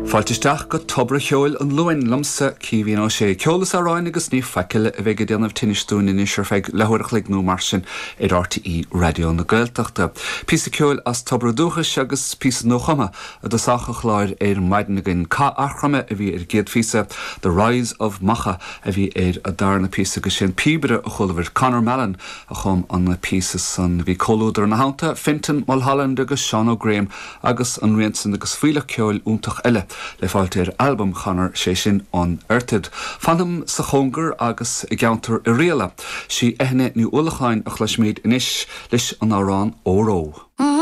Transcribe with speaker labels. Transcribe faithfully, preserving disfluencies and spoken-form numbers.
Speaker 1: Fáilte isteach go Tobar an Cheoil an Luain liomsa Caoimhín Ó Sé ceol is amhráin agus ní faic eile a bheidh ag déanamh tinnis dúinn anois ar feadh leathuair a chloig nó mar sin ar RTÉ Raidió na Gaeltachta. Píosa ceoil as Tobar Dúchais agus píosa nuachumtha i dtosach an chláir ar maidin againn Cath Eachroime a bhí ar an gcéad phíosa The Rise of Macha a bhí ar an darna píosa agus sin píobaire a chualamar Conor Mallon a chum an píosa san bhí comhluadar ina theannta Fintan Mulholland agus Sean O'Graham agus an rian san agus fuílleach ceoil iontach eile le fáilt ar albam Chonor sé sin Unearthed. Fanam sa chóngar agus i gceantar Oirialla, sí Eithne Ní Uallacháin a chloisfimid anois leis an amhrán Óró.